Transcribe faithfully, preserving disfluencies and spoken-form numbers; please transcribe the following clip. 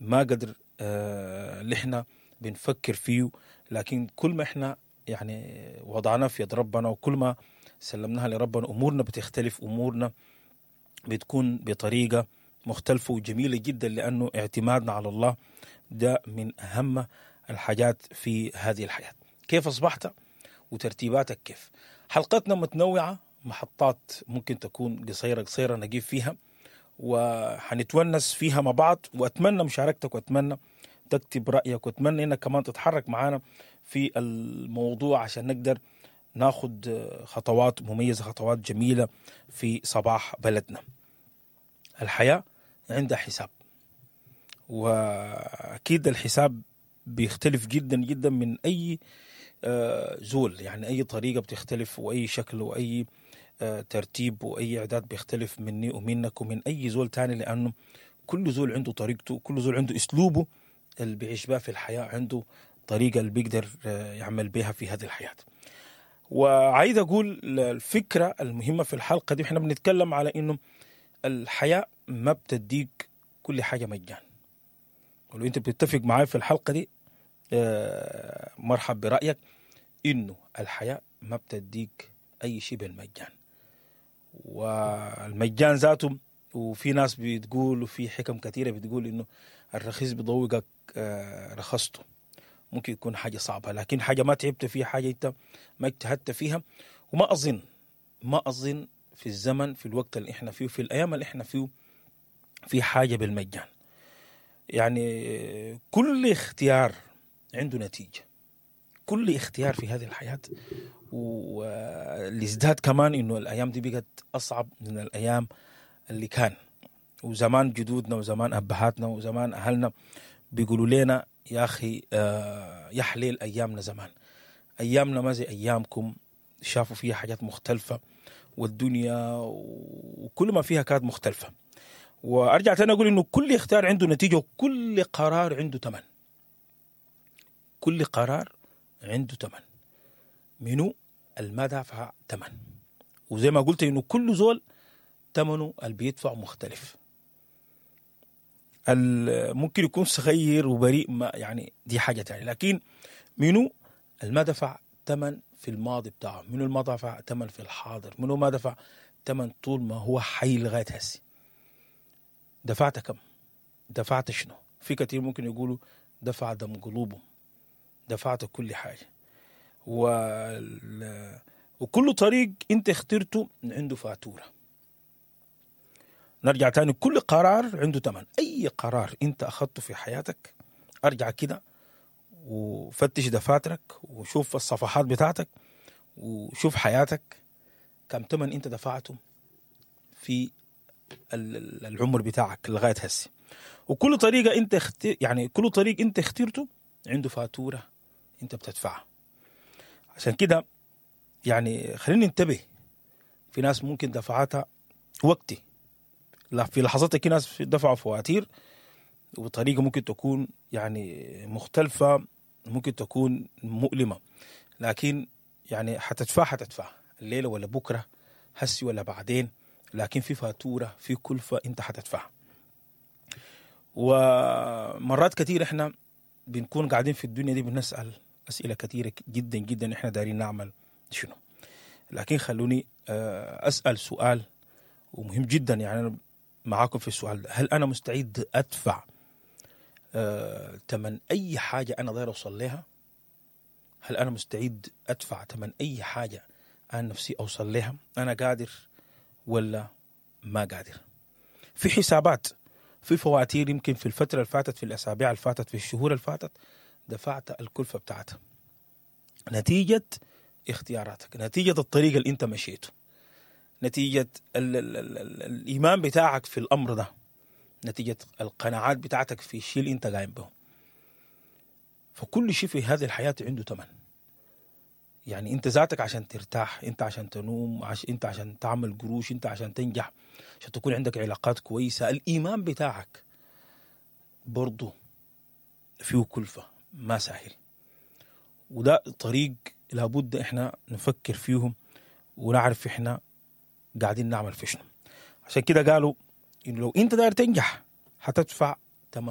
ما قدر آه، اللي احنا بنفكر فيه، لكن كل ما احنا يعني وضعناه في يد ربنا وكل ما سلمناها لربنا امورنا بتختلف، امورنا بتكون بطريقة مختلفة وجميلة جدا، لانه اعتمادنا على الله ده من اهم الحاجات في هذه الحياة. كيف اصبحت وترتيباتك كيف؟ حلقتنا متنوعة، محطات ممكن تكون قصيرة قصيرة نجيب فيها وحنتونس فيها مع بعض، واتمنى مشاركتك واتمنى تكتب رايك واتمنى انك كمان تتحرك معانا في الموضوع عشان نقدر ناخد خطوات مميزة، خطوات جميلة في صباح بلدنا. الحياة عندها حساب، واكيد الحساب بيختلف جدا جدا من اي آه، زول، يعني اي طريقه بتختلف واي شكل واي آه، ترتيب واي اعداد بيختلف مني ومنك ومن اي زول تاني، لانه كل زول عنده طريقته، كل زول عنده اسلوبه اللي بيعيش بها في الحياة، عنده طريقه اللي بيقدر آه، يعمل بها في هذه الحياة. وعايز اقول الفكرة المهمة في الحلقة دي، احنا بنتكلم على انه الحياة ما بتديك كل حاجة مجان. ولو انت بتتفق معاي في الحلقة دي آه، مرحب برايك، انه الحياة ما بتديك اي شيء بالمجان، والمجان ذاته وفي ناس بتقول وفي حكم كثيرة بتقول انه الرخيص بيضوقك آه، رخصته. ممكن يكون حاجة صعبة، لكن حاجة ما تعبت فيها، حاجة انت ما اجتهدت فيها. وما اظن ما اظن في الزمن، في الوقت اللي احنا فيه، في الايام اللي احنا فيه، في حاجة بالمجان. يعني كل اختيار عنده نتيجة، كل اختيار في هذه الحياة. واللي ازداد كمان انه الايام دي بقت اصعب من الايام اللي كان، وزمان جدودنا وزمان ابهاتنا وزمان اهلنا بيقولوا لنا يا اخي آه، يا حليل ايامنا زمان، ايامنا ما زي ايامكم، شافوا فيها حاجات مختلفة والدنيا وكل ما فيها كانت مختلفة. وارجع تاني اقول انه كل اختيار عنده نتيجة وكل قرار عنده ثمن. كل قرار عنده ثمن، منو الما دافع ثمن. وزي ما قلت انه كل زول ثمنه اللي بيدفع مختلف. ال- ممكن يكون صغير وبريء، ما يعني دي حاجة تانية، لكن منو الما دفع ثمن في الماضي بتاعه، منو الما دفع ثمن في الحاضر، منو ما دفع ثمن طول ما هو حي لغاية هسي. دفعت كم؟ دفعت شنو؟ في كثير ممكن يقولوا دفع دم قلوبهم، دفعت كل حاجة. وال... وكل طريق انت اخترته عنده فاتورة. نرجع تاني، كل قرار عنده ثمن. اي قرار انت اخذته في حياتك ارجع كده وفتش دفاترك وشوف الصفحات بتاعتك وشوف حياتك كم ثمن انت دفعته في ال- ال- العمر بتاعك لغاية هسه. وكل طريقه انت اخت... يعني كل طريق انت اخترته عنده فاتورة انت بتدفعها. عشان كده يعني خلينا ننتبه، في ناس ممكن دفعتها وقتي، لا في لحظتها في ناس دفعوا فواتير وبطريقة ممكن تكون يعني مختلفة، ممكن تكون مؤلمة، لكن يعني حتدفع حتدفع الليلة ولا بكره، هسي ولا بعدين، لكن في فاتورة، في كلفه انت حتدفعها. ومرات كثير احنا بنكون قاعدين في الدنيا دي بنسال اسئلة كثيرة جدا جدا، احنا دايرين نعمل شنو؟ لكن خلوني آه، اسال سؤال ومهم جدا، يعني انا معاكم في السؤال ده، هل انا مستعد ادفع آه، ثمن اي حاجة انا داير اوصل لها؟ هل انا مستعد ادفع ثمن اي حاجة انا نفسي اوصل لها؟ انا قادر ولا ما قادر؟ في حسابات، في فواتير، يمكن في الفترة اللي فاتت، في الاسابيع اللي فاتت، في الشهور اللي فاتت دفعت الكلفة بتاعتها نتيجة اختياراتك، نتيجة الطريق اللي انت مشيته، نتيجة ال ال ال ال الايمان بتاعك في الامر ده، نتيجة القناعات بتاعتك في الشيء اللي انت قايم به. فكل شيء في هذه الحياة عنده ثمن. يعني انت ذاتك عشان ترتاح، انت عشان تنوم، عش انت عشان تعمل قروش، انت عشان تنجح، عشان تكون عندك علاقات كويسة، الايمان بتاعك برضه فيه كلفه، ما سهل. وده طريق لابد احنا نفكر فيهم ونعرف احنا قاعدين نعمل في شنو. عشان كده قالوا انه لو انت داير تنجح حتدفع ثمن